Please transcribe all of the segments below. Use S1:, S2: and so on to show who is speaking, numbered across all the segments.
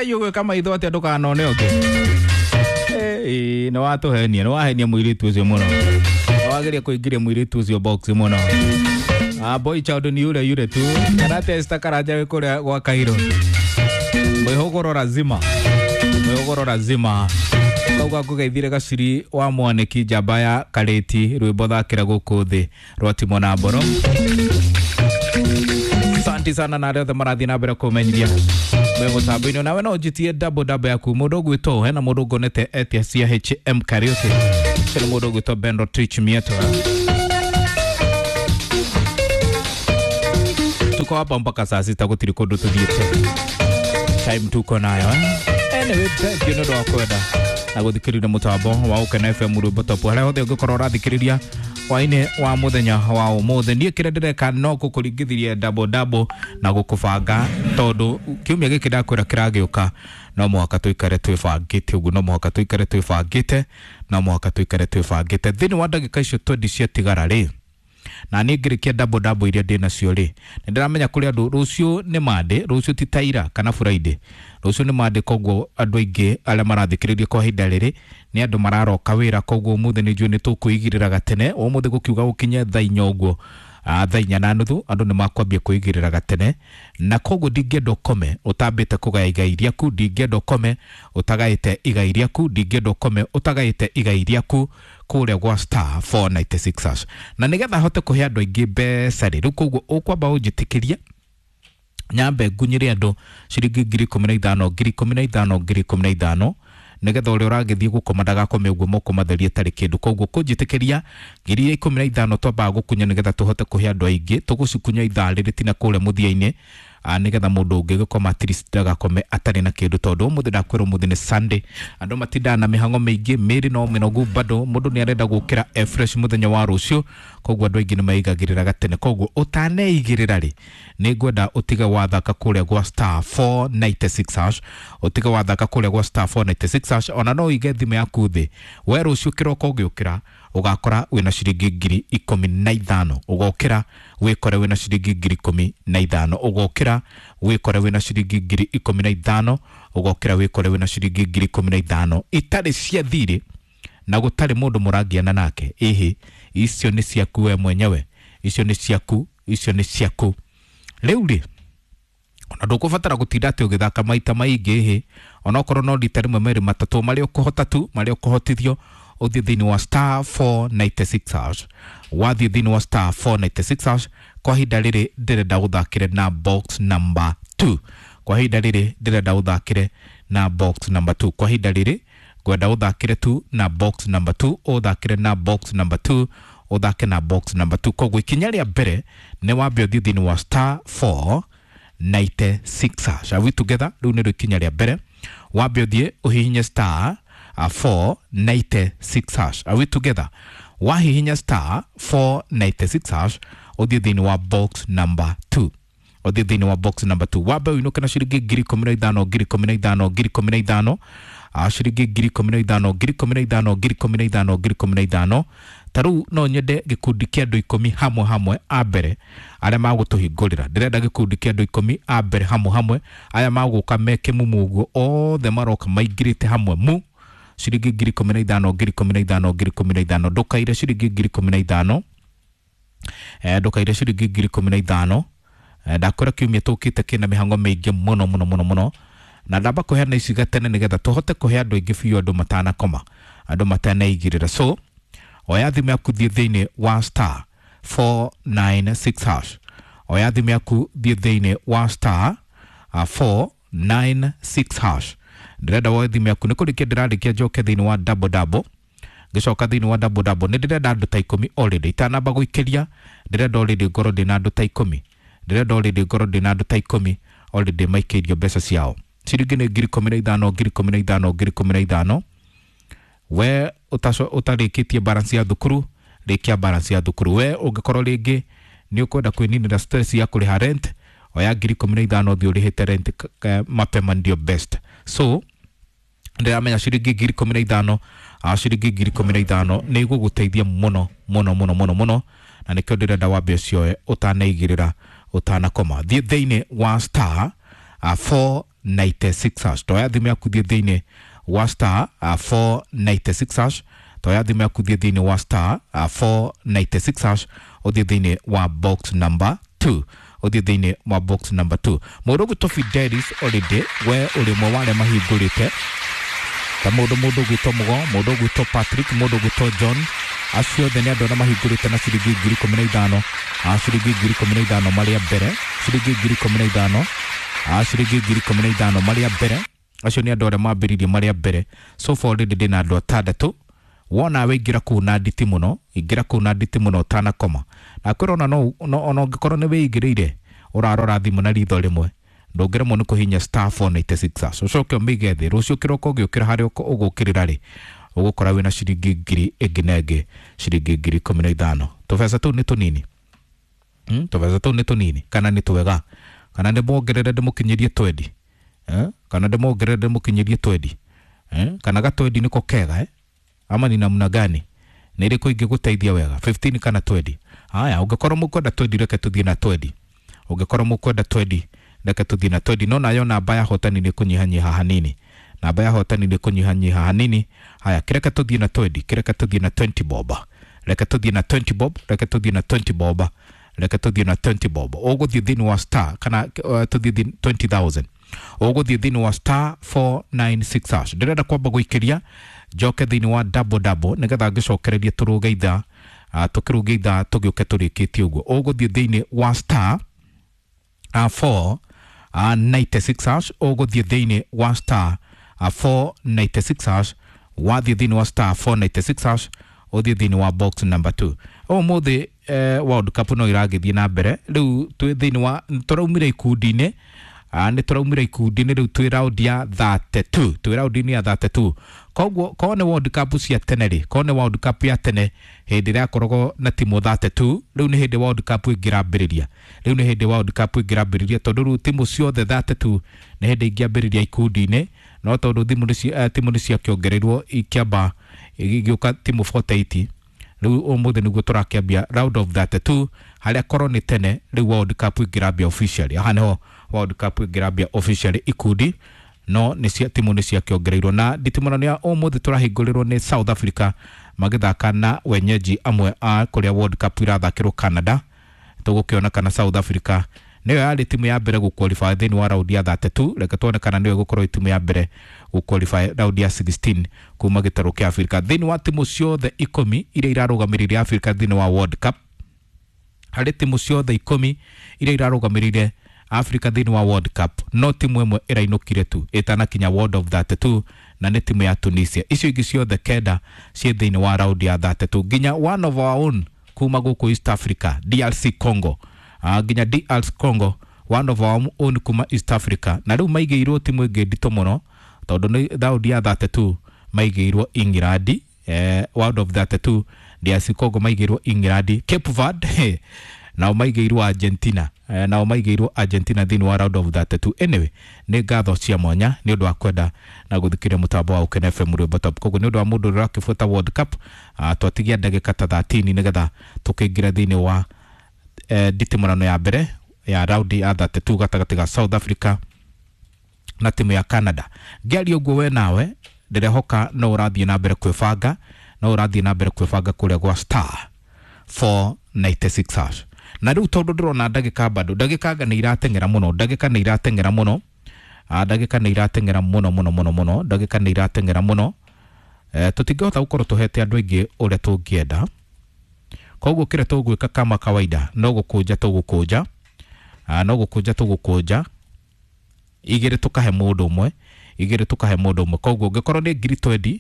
S1: Ngai ũgwĩka maitho atĩa ndũkanone ũngĩ. Ĩĩ nĩ watũhenia, nĩ wahenia mũirĩtu ũcio mũno. Nĩ wageria kũingĩria mũirĩtu ũcio box mũno. Ah, boy child ni yule yule tu. Karate Esther Karanja wĩ kũrĩa gwa Cairo. Mwĩhũgũro lazima. Mwĩhũgũro lazima. Kauga ngũgeithire gaciri wa mwanĩki njamba ya karĩti rwĩmbo thakĩra gũkũ thĩ rwa Timo na Mboro. Asante sana na arĩa othe marathiĩ na mbere kũmenyithia me mũtambo-inĩ. Nawe no ũnjĩtie double double yaku mũndũ ũgwĩtwo hena mũndũ ngonete etia cia HM Karaoke. Ũcio nĩ mũndũ ũgwĩtwo Bendo Twitch Mieto. Tuko hapa mpaka saa sita, gũtirĩ kũndũ tũthiĩte. Time tuko nayo eh? Anyway, thank you nĩ ũndũ wa kwenda na gũthikĩrĩria mũtambo wa Ũkena FM rwĩmbo top harĩa hothe ũngĩkorwo ũrathikĩrĩria hwainĩ wa mũthenya wa ũmũthĩ. Niĩ kĩrĩa ndĩreka no gũkũringithirie double double na gũkũbanga tondũ kiumia gĩkĩ ndakwĩra kĩragĩũka no mũhaka tũikare twĩbangĩte ũguo, no mũhaka tũikare twĩbangĩte, no mũhaka tũikare twĩbangĩte. Thĩinĩ wa ndagĩka icio twendi ciatigara rĩ, na niĩ ngĩrĩkia double double iria ndĩ nacio rĩ, nĩ ndĩramenya kũrĩ andũ rũciũ nĩ Monday, rũciũ ti ta ira kana Friday, rũciũ nĩ Monday, koguo andũ aingĩ arĩa marathikĩrĩria kwa ihinda rĩrĩ nĩ andũ mararoka wĩra, koguo ũmũthĩ nĩ njũĩ nĩ tũkwĩigĩrĩra gatene. Ũmũthĩ gũkiuga gũkinye thaa inya ũguo, thaa inya na nuthu andũ nĩ makwambia kwĩigĩrĩra gatene, na koguo ndingĩenda ũkome ũtambĩte kũgaya igai rĩaku, ndingĩenda ũkome ũtagaĩte igai rĩaku, ndingĩenda ũkome ũtagaĩte igai rĩaku kũrĩa gwa star 496 hash. Na nĩgetha hote kũhe andũ aingĩ mbeca rĩ, rĩu koguo ũkwamba ũnjĩtĩkĩrie nyambe ngunyĩre andũ ciringi 15,000 15,000 15,000 nĩgetha ũrĩa ũragĩthiĩ gũkoma ndagakome ũguo moko matherie atarĩ kĩndũ. Koguo kũnjĩtĩkĩria 15,000 twambaga gũkunya nĩgetha tũhote kũhe andũ aingĩ, tũgũcikunya ithaa rĩrĩ tina kũrĩa mũthia-inĩ, nĩgetha mũndũ ũngĩ gĩkoma at least ndagakome atarĩ na kĩndũ, tondũ ũmũthĩ ndakwĩra ũmũthĩ nĩ Sunday, andũ matindaga na mĩhang'o mĩingĩ, mĩĩrĩ no mĩnogu bado mũndũ nĩ arenda gũkĩra e fresh mũthenya wa rũciũ, koguo andũ aingĩ nĩ meigagĩrĩra gatene. Koguo ũtaneigĩrĩra rĩ, nĩ ngwenda ũtige wathaka kũrĩa gwa star 496 hash, ũtige wathaka kũrĩa gwa star 496 hash, ona no ũige thimũ yaku thĩ we rũciũ kĩroko ũgĩũkĩra ũgakora wĩna ciringi 15,000, ũgokĩra wĩkore wĩna ciringi 15,000, ũgokĩra wĩkore wĩna ciringi 15,000, ũgokĩra wĩkore wĩna ciringi 15,000 itarĩ cia thirĩ na gũtarĩ mũndũ mũrangiana nake. Ĩhĩ, icio nĩ ciaku we mwenyewe, icio nĩ ciaku, icio nĩ ciaku. Rĩu rĩ, ona ndũkũbatara gũtinda atĩ ũgĩthaka maita maingĩ, ĩhĩ, onokorwo no rita rĩmwe merĩ matatũ marĩa ũkũhota tu, marĩa ũkũhotithio ũthiĩ thĩinĩ wa star 496 hash. Wathiĩ thĩinĩ wa star 496 hash, kwa ihinda rĩrĩ ndĩrenda ũthakĩre na box number 2. Kwa ihinda rĩrĩ ndĩrenda ũthakĩre na box number 2. Kwa ihinda rĩrĩ ngwenda ũthakĩre tu na box number 2, ũthakĩre na box number 2, ũthake na box number 2. Koguo ikinya rĩa mbere nĩ wambe ũthiĩ thĩinĩ wa star 496 hash. Are we together? Rĩu nĩrĩo ikinya rĩa mbere, wambe ũthiĩ ũhihinye star 496 hash. Are we together? Wahihinya star 496 hash, ũthiĩ thĩinĩ wa box number 2, ũthiĩ thĩinĩ wa box number 2, wambe ũinũke na ciringi 15,000 15,000 15,000, ciringi 15,000 15,000 15,000 15,000. Ta rĩu no nyende gĩkundi kĩa andũ 10 hamwe hamwe a mbere arĩa magũtũhingũrĩra. Ndĩrenda gĩkundi kĩa andũ 10 a mbere hamwe hamwe aya magũka me kĩmumu ũguo, othe maroka maingĩrĩte hamwe mu ciringi 15,000 15,000 15,000. Ndũkaire ciringi 15,000, ndũkaire ciringi 15,000. Ndakwĩra kiumia tũkĩte kĩna mĩhang'o mĩingĩ mũno mũno mũno mũno, na ndamba kũheana ici gatene nĩgetha tũhote kũhe andũ aingĩ biũ, andũ matanakoma, andũ matanaigĩrĩra. So oya thimũ yaku thiĩ thĩinĩ wa star 496 hash, oya thimũ yaku thiĩ thĩinĩ wa star 496 hash. Ndĩrenda woe thimũ yaku, nĩ kũrĩkia ndĩrarĩkia njoke thĩinĩ wa double double, ngĩcoka thĩinĩ wa double double nĩ ndĩrenda andũ ta 10 already, itanamba gũikĩria ndĩrenda already ngorwo ndĩna andũ ta 10, ndĩrenda already ngorwo ndĩna andũ ta 10 already maikĩirio mbeca ciao. Ciringi nĩ 15,000 15,000 15,000. We ũtarĩkĩtie balance ya thukuru, rĩkia balance ya thukuru. We ũngĩkorwo rĩngĩ nĩ ũkwenda kwĩninĩra stress ya kũrĩha rent, oya 15,000 ũthiĩ ũrĩhĩte rent mapema ndio best. So ndĩramenya ciringi 15,000, ciringi 15,000 nĩ igũgũteithia mũno mũno mũno mũno mũno, na nĩkĩo ndĩrenda wambe ũcioe ũtanaigĩrĩra ũtanakoma. Thiĩ thĩinĩ wa star 4 496 hash. Toya thimũ yaku thiĩ thĩinĩ wa star 496 hash. Toya thimũ yaku thiĩ thĩinĩ wa star 496 hash, ũthiĩ thĩinĩ wa box number 2, ũthiĩ thĩinĩ wa box number 2. Mũndũ ũgwĩtwo Fidelis already we ũrĩ ũmwe wa arĩa mahingũrĩte, ta mũndũ ũgwĩtwo Mũgo, mũndũ ũgwĩtwo Patrick, mũndũ ũgwĩtwo John, acio othe nĩ andũ arĩa mahingũrĩte na ciringi 15,000, ciringi 15,000 marĩa mbere, ciringi 15,000, ciringi 15,000 marĩa mbere. Acio nĩ andũ arĩa mambĩrĩirie marĩa mbere. So far already ndĩna andũ atandatũ. Wona we ingĩra kũu na nditi mũno, ingĩra kũu na nditi mũno ũtanakoma. Na kwĩra ona no ona ũngĩkorwo nĩ wĩingĩrĩire ũrarora thimũ na ritho rĩmwe, ndũngĩremwo nĩ kũhihinya star 496 hash, ũcoke ũmĩige thĩ. Rũciũ kĩroko ũgĩũkĩra harĩa ũgũkĩrĩra rĩ, ũgũkora wĩna ciringi ngiri ĩngĩ na ĩngĩ, ciringi 15,000. Tũbeca tũu nĩ tũnini, tũbeca tũu nĩ tũnini kana nĩ twega? Kana ndĩmuongerere ndĩmũkinyĩrie twendi, eh? Kana ndĩmuongerere ndĩmũkinyĩrie twendi, eh? Kana gatwendi nĩko kega, eh? Ama ni namna gani? Nĩ ĩrĩkũ ingĩgũteithia wega, 15 kana 20? Haya, ũngĩkorwo mũkwenda 20, reke tũthiĩ na 20. Ũngĩkorwo mũkwenda 20, reke tũthiĩ na 20. No nayo namba ya hotani nĩ kũnyihanyiha hanini, namba ya hotani nĩ kũnyihanyiha hanini. Haya, kĩreke tũthiĩ na 20, kĩreke tũthiĩ na 20 bob, reke tũthiĩ na 20 bob, reke tũthiĩ na 20 bob, reke tũthiĩ na 20 bob. Ũgũthiĩ thĩinĩ wa star kana tũthiĩ 20,000, ũgũthiĩ thĩinĩ wa star 496 hash. Ndĩrenda kwamba gũikĩria njoke thĩinĩ wa double double nĩgetha ngĩcokererie tũrũge ithaa, tũkĩrũge ithaa tũgĩũke tũrĩkĩtie ũguo. Ũgũthiĩ thĩinĩ wa star 4 96 hash, ũgũthiĩ thĩinĩ wa star 496 hash. Wathiĩ thĩinĩ wa star 496 hash, ũthiĩ thĩinĩ wa box number 2. Ũmũthĩ World Cup no iragĩthiĩ na mbere. Rĩu twĩ thĩinĩ wa tũraumire ikundi-inĩ, nĩ tũraumire ikundi-inĩ, rĩu twĩ round ya 32, twĩ round-inĩ ya 32. Koguo korwo nĩ World Cup cia tene rĩ, korwo nĩ World Cup ya tene hĩndĩ ĩrĩa yakoragwo na timu 32, rĩu nĩ hĩndĩ World Cup ĩngĩrambĩrĩria, rĩu nĩ hĩndĩ World Cup ĩngĩrambĩrĩria, tondũ rĩu timu ciothe 32 nĩ hĩndĩ ingĩambĩrĩria ikundi-inĩ. No tondũ timu nĩ ciakĩongereirwo ikĩamba igĩũka timu 48, rĩu ũmũthĩ nĩguo tũrakĩambia round of 32, harĩa korwo nĩ tene rĩu World Cup ĩngĩrambia officially. Haha nĩho World Cup ĩngĩrambia officially ikundi, no nĩ cia timu nĩ ciakĩongereirwo. Na nditimũrano ya ũmũthĩ tũrahingũrĩrwo nĩ South Africa magĩthaka na wenyeji amwe a kũrĩa World Cup irathakĩrwo Canada. Tũgũkĩona kana South Africa nĩyo yarĩ timu ya mbere gũqualify thĩinĩ wa round ya 32. Reke tuone kana nĩyo ĩgũkorwo timu ya mbere gũqualify round ya 16 kuma gĩtarũ kĩa Africa. Thĩinĩ wa timu ciothe ikũmi iria irarũgamĩrĩire Africa thĩinĩ wa World Cup, harĩ timu ciothe ikũmi iria irarũgamĩrĩire Africa thĩinĩ wa World Cup, no timu ĩmwe ĩrainũkire tu ĩtanakinya World of 32, na nĩ timu ya Tunisia. Icio ingĩ ciothe kenda ciĩ thĩinĩ wa round ya 32, nginya one of our own kuma gũkũ East Africa, DRC Congo, nginya DR Congo, one of our own kuma East Africa. Na rĩu maigĩirwo timu ĩngĩ nditũ mũno, tondũ nĩ round ya 32 maigĩirwo England. World of 32 DRC Congo maigĩirwo England. Cape Verde nao maigĩirwo Argentina, nao maigĩirwo Argentina thĩinĩ wa round of 32. Anyway, nĩ ngatho cia mwanya nĩ ũndũ wa kwenda na gũthikĩrĩria mũtambo wa Ũkene FM Rwĩmbo Top. Koguo nĩ ũndũ wa mũndũ ũrĩa ũrakĩbuata World Cup, twatigia ndagĩka ta 13 nĩgetha tũkĩingĩra thĩinĩ wa nditimũrano ya mbere ya round ya 32 gatagatĩ ga South Africa na timu ya Canada. Ngĩaria ũguo we nawe ndĩrehoka no ũrathiĩ na mbere kwĩbanga, no ũrathiĩ na mbere kwĩbanga kũrĩa gwa star 496 hash. Na rĩu tondũ ndĩrona ndagĩka bado, ndagĩka anga nĩ irateng'era mũno, ndagĩka nĩ irateng'era mũno, ndagĩka nĩ irateng'era mũno mũno mũno mũno, ndagĩka nĩ irateng'era mũno. Tũtingĩhota gũkorwo tũhete andũ aingĩ ũrĩa tũngĩenda. Koguo kĩrĩa tũgwĩka kama kawaida no gũkũnja tũgũkũnja, no gũkũnja tũgũkũnja igĩrĩ tũkahe mũndũ ũmwe, igĩrĩ tũkahe mũndũ ũmwe. Koguo ũngĩkorwo nĩ ngiri 20,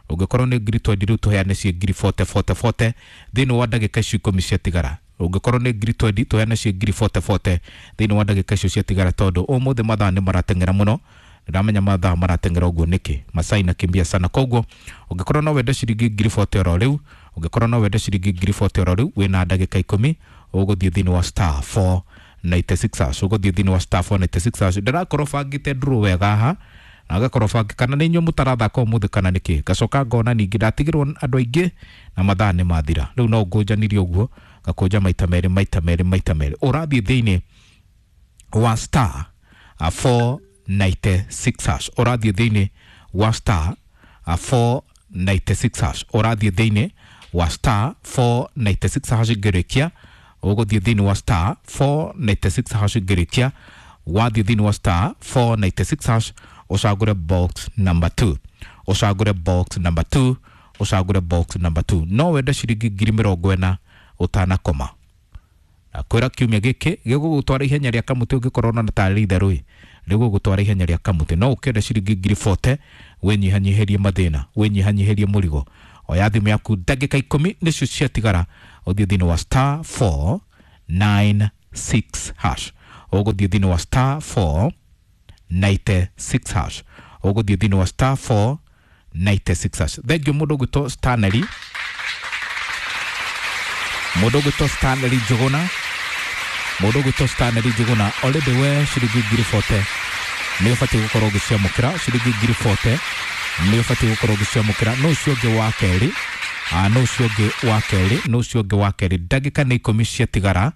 S1: ũngĩkorwo nĩ ngiri 20, rĩu tũheane ciĩ ngiri 40 40 40 thĩinĩ wa ndagĩka icio ikũmi ciatigara. Ũngĩkorwo nĩ ngiri 20, tũheane ciĩ ngiri 40 40 thĩinĩ wa ndagĩka icio ciatigara, tondũ ũmũthĩ mathaa nĩ marateng'era mũno. Ndĩramenya mathaa marateng'era ũguo nĩkĩ, masaa inakimbia sana. Koguo ũngĩkorwo no wende ciringi ngiri 40 oro rĩu, ũngĩkorwo no wende ciringi ngiri 40 oro rĩu, wĩna ndagĩka ikũmi, ũgũthiĩ thĩinĩ wa star 496 hash, ũgũthiĩ thĩinĩ wa star 496 hash. Ndĩrakorwo bangĩte draw wega haha, na ngakorwo bangĩ kana nĩ inyuĩ mũtarathaka ũmũthĩ kana nĩkĩ. Ngacoka ngona ningĩ ndatigĩrwo andũ aingĩ na mathaa nĩ mathira. Rĩu no ngũnjanirie ũguo, ngakũnja maita merĩ maita merĩ maita merĩ. Ũrathiĩ thĩinĩ wa star 4 496 hash. Ũrathiĩ thĩinĩ wa star 496 hash. Ũrathiĩ thĩinĩ wa star 496 hash ngĩrĩkia. Ũgũthiĩ thĩinĩ wa star 496 hash ngĩrĩkia. Wathiĩ thĩinĩ wa star 496 hash ũcagũre box number 2. Ũcagũre box number 2. Ũcagũre box number 2. No wende ciringi 40,000 ũtanakoma. Na kwĩra kiumia gĩkĩ gĩgũgũtwara ihenya rĩa kamũtĩ ũngĩkorwo na tarĩ itherũ ĩ rĩgũgũtwara ihenya rĩa kamũtĩ. No ũkĩenda ciringi 40,000 wĩnyihanyihĩrie mathĩna, wĩnyihanyihĩrie mũrigo. Oya thimũ yaku ndagĩka 10 nĩcio ciatigara ũthiĩ thĩinĩ wa star 496 hash. Ũgũthiĩ thĩinĩ wa star 496 hash. Ũgũthiĩ thĩinĩ wa star 496 hash. Thengiũ mũndũ ũgwĩtwo Stanley, mũndũ ũgwĩtwo Stanley Njũgũna, mũndũ ũgwĩtwo Stanley Njũgũna already we ciringi 40,000 nĩ ũbatiĩ gũkorwo ũgĩciamũkĩra. Ciringi 40,000 nĩ ũbatiĩ gũkorwo ũgĩciamũkĩra. No ũcio ũngĩ wa kerĩ, no ũcio ũngĩ wa kerĩ, no ũcio ũngĩ wa kerĩ. Ndagĩka nĩ 10 ciatigara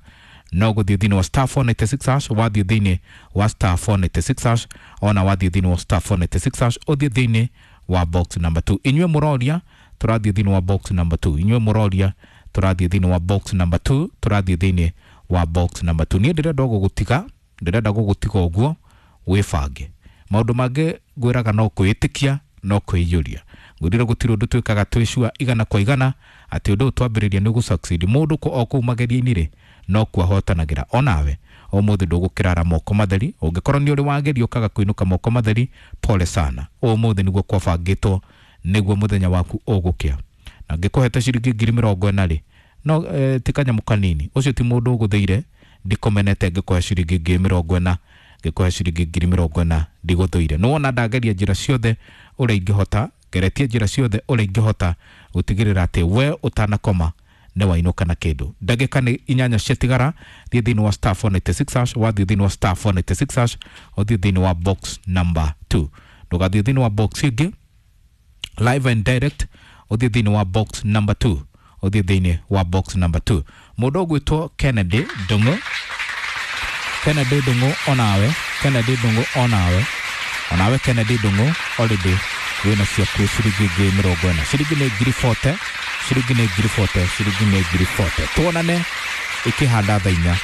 S1: no gũthiĩ thĩinĩ wa star 496 hash. Wathiĩ thĩinĩ wa star 496 hash, ona wathiĩ thĩinĩ wa star 496 hash ũthiĩ thĩinĩ wa box number 2. Inyuĩ mũroria tũrathiĩ thĩinĩ wa box number 2. Inyuĩ mũroria tũrathiĩ thĩinĩ wa box number 2. Tũrathiĩ thĩinĩ wa box number 2. Niĩ ndĩrenda gũgũtiga, ndĩrenda gũgũtiga ũguo wĩbange. Maũndũ mangĩ ngwĩraga no kwĩĩtĩkia, no kwĩiyũria. Ngwĩrire gũtirĩ ũndũ twĩkaga twĩcua igana kwa igana atĩ ũndũ ũyũ twambĩrĩria nĩ ũgũ-succeed. Mũndũ o kũu mageria-inĩ rĩ no kuo ahotanagĩra. Onawe ũmũthĩ ndũgũkĩrara moko matheri. Ũngĩkorwo nĩ ũrĩ wageria ũkaga kũinũka moko matheri, pole sana. Ũmũthĩ nĩguo kwabangĩtwo, nĩguo mũthenya waku ũgũkĩa. Na ngĩkũhete ciringi 40,000 rĩ, no ti kanyamũ kanini. Ũcio ti mũndũ ũgũthĩire, ndikũmenete ngĩkũhe ciringi 40,000, ngĩkũhe ciringi 40,000 ndigũthũire. Nĩ wona ndageria njĩra ciothe ũrĩa ingĩhota, ngeretie njĩra ciothe ũrĩa ingĩhota gũtigĩrĩra atĩ we ũtanakoma nĩ wainũka na kĩndũ. Ndagĩka nĩ 8 ciatigara, thiĩ thĩinĩ wa star 496 hash. Wathiĩ thĩinĩ wa star 496 hash ũthiĩ thĩinĩ wa box number 2. Ndũgathiĩ thĩinĩ wa box ĩngĩ, live and direct ũthiĩ thĩinĩ wa box number 2. Ũthiĩ thĩinĩ wa box number 2. Mũndũ ũgwĩtwo Kennedy Ndung'u, Kennedy Ndung'u onawe, Kennedy Ndung'u onawe, onawe Kennedy Ndung'u already wĩna ciaku ciringi 40,000. Ciringi nĩ 40,000, ciringi nĩ 40,000, ciringi nĩ 40,000. Tuonane ikĩhanda thaa 4.